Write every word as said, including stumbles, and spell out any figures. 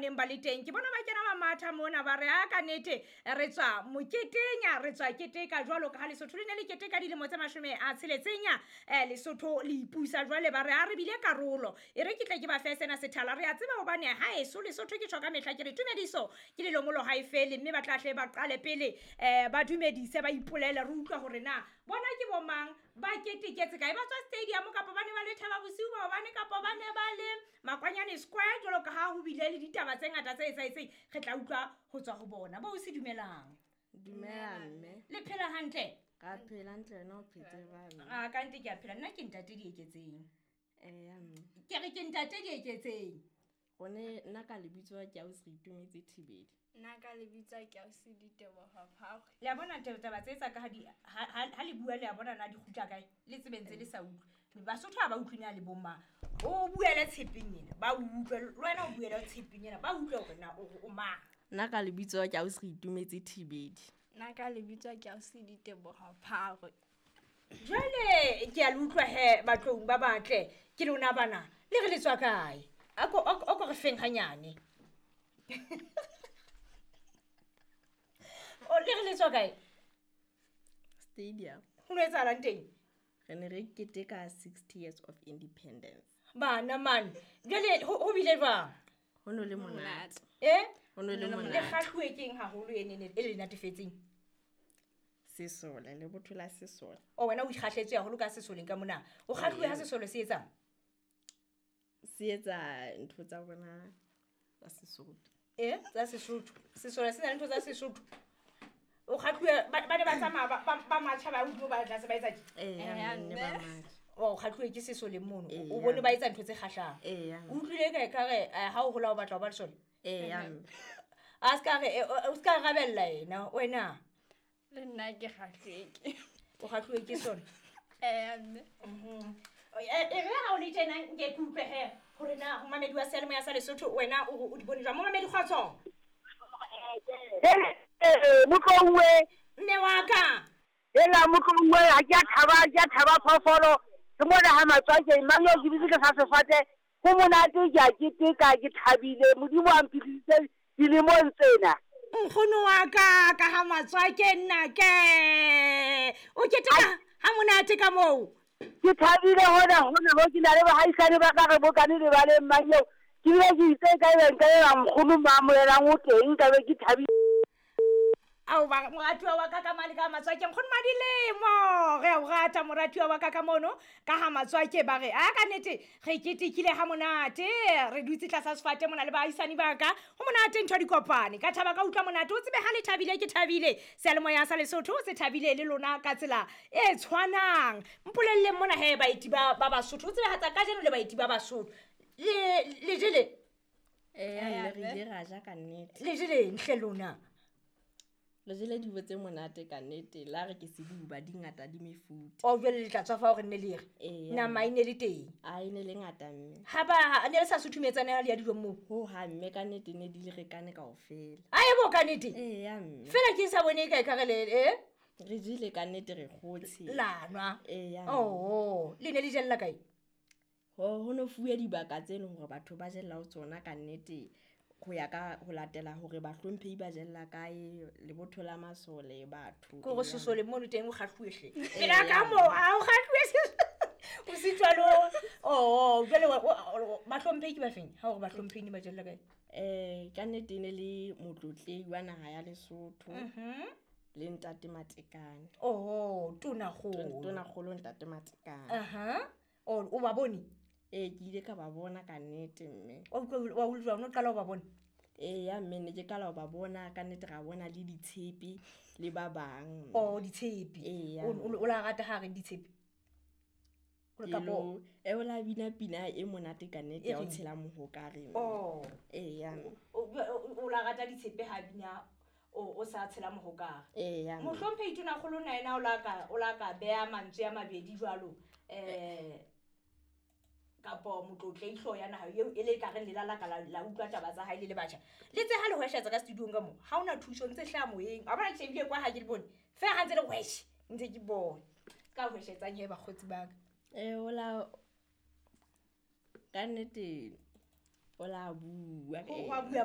neng ba le teng. Ke bona ba kena ba matha mona ba re a ka nnete re tswa moketeng, re tswa keteka jwalo ka ha Lesotho le ne le keteka dilemo tse mashome a tsheletseng eh Lesotho le ipusa jwale ba re a re bile karolo. E re ke tle ke ba fe sena sethala re a tseba hobane ha eso Lesotho ke tjho ka mehla ke re tumediso ke lelomolo ha e fele mme ba tla hle ba qale pele eh ba dumedise ba ipolele re utlwa hore na bona ke bo mang ba keteketse kae ba tswa stadium kapa ba ne ba le Thaba Bosiu maobane kapa ba ne ba le Makwanyane Square jwalo ka ha ho bile le ditaba tse ngata tse etsahetseng re tla utlwa ho tswa ho bona. Bo se dumelang. Dumela mme. Le phela hantle? Ka phela hantle wena o phetse jwang? Ah ka nte ke a phela nna ke ntate Dieketseng. Eh mme. Ke re ke ntate Dieketseng. Gone nna ka lebitso ke ausi Re Itumetse Thibedi. Nna ka lebitso ke ausi Diteboho Phakwe. Le a bona taba tse tsa ka ha di ha le bua le a bona na di kgutla kae le tsebeng tse le sa utlwe. Basotho ha ba utlwe na le bomma. O buele tshepeng ena ba utlwe le wena o buele tshepeng ena ba utlwe hore na o mang. Nna ka lebitso ke ausi Re Itumetse Thibedi. Nna ka lebitso ke ausi Diteboho Phakwe. Jwale ke a le utlwa he batlong ba batle ke lona bana le re le tswa kae? Ako ako re feng hanyane. O le re le tswa kae? Stadium. Ho no etsahalang teng? Re ne re keteka sixty years of independence. Bana man, jwale ho bile jwang? Ho no le monate. Eh? Ho no le monate. Le kgahluwe keng haholo e ne e le natefetseng? Sesole, le botho la sesole. O wena o ikgahletswe haholo ka sesoleng ka mona. O kgahluwe ha sesole se etsang? Se etsa ntho tsa bona tsa Sesotho. Eh, tsa Sesotho. Sesole se na le ntho tsa Sesotho. O kgahluwe ba ne ba tsamaya ba matjha ba hodimo ba tlase ba etsa ke? Eh, ne ba matjha. O kgahluwe ke sesole mono. O bone ba etsa ntho tse kgahlang. Eh. O utlwile kae ka re ha o hola o batla ho ba lesole? Eh. A ska re o ska rabella yena wena. Le nna ke kgahluwe ke. O kgahluwe ke sona? Eh mme. Mhm. E re ha o le tjena nke ke utlwe he hore na ho mamedi wa seyalemoya sa Lesotho wena o di bone jwang? Momamedi kgotso. Eh motlongwe mme wa ka. Ela motlongwe ha ke a thaba ke a thaba phoofolo ke mona ha Matswakeng mang yo ke bitse ke sa sefate ho monate ke a keteka ke thabile Modimo a mphidisitse dilemong tsena. Nkgono wa ka ka ha Matswakeng nna ke o keteka ha monate ka moo. Ke thabile hona hona ho ke na le bahaisane ba ka re bokane le ba le mang eo ke bile ke itse ka ebe nka eba nkgono maamohelang o teng ka be ke thabile. Ao ba moratuwa wa ka ka mane ka Matswakeng nkgono Madilemo re a o rata moratuwa wa ka ka mono ka ha Matswake ba re a ka nnete re ketekile ha monate re dutse tlasa sefate mona le baahisani ba ka ho monate ntho di kopane ka thaba ka utlwa monate o tsebe ha le thabile ke thabile seyalemoya sa Lesotho se thabile le lona ka tsela e tshwanang. Mpolelleng mona he baeti ba ba Basotho o tsebe ha tsa kajeno le baeti ba Basotho le le jele eh re ile ra ja ka nnete le jele nhle lona le jele dibo tse monate ka nnete la re ke sebuba di ngata di mefuta. O jwale le tla tswa fa hore nne le re nama e ne le teng a e ne le ngata mme ha ba ne le sa suthumetsana ha le ya dijong moo ho ha mme ka nnete ne di le rekane kaofela. A e bo ka nnete ee ya mme fela ke sa bone kae ka re le eh re jele ka nnete re kgotse la nwa ee ya oh le ne le jella kae ho ho no fuwe dibaka tse leng hore batho ba jella ho tsona ka nnete ho ya ka ho latela hore bahlomphehi ba jella kae lebotho la masole batho ko go sesole mono teng o kgahluwe hle pela ka mo a o kgahluwe o se jwalo oh jwale bahlomphehi ke ba feng ha hore bahlomphehi ne ba jella kae eh ka nnete ne le motlotlehi wa naha ya Lesotho mhm le ntate Matekane oh tona kgolo tona kgolo ntate Matekane aha o o ba bone eh ke ile ka ba bona ka nnete mme o wa utlwa o qala o ba bona eh ya mme ne ke qala o ba bona ka nnete ra bona le ditshepe le ba bang oh ditshepe o la rata ha re ditshepe o ka bo e o la bina pina e monate ka nnete ya o tshela mohokare oh eh ya o la rata ditshepe ha bina o o sa tshela mohokare eh ya mohlomphehi tona kgolo na yena o la ka o la ka beha mantswe a mabedi jwalo eh kapo motlotleihlo ya naha eo e le ka re lela la ka la utlwa taba tsa hae le le batjha le tse ha le hweshetsa ka studiong ka mo ha ona thuso ntse hlaha moyeng a bona ke shebile kwa ha ke le bone fela ha ntse le hweshe ntse ke bone ka hweshetsang he bakgotsi ba ka eh ola ka nnete o la bua ho bua.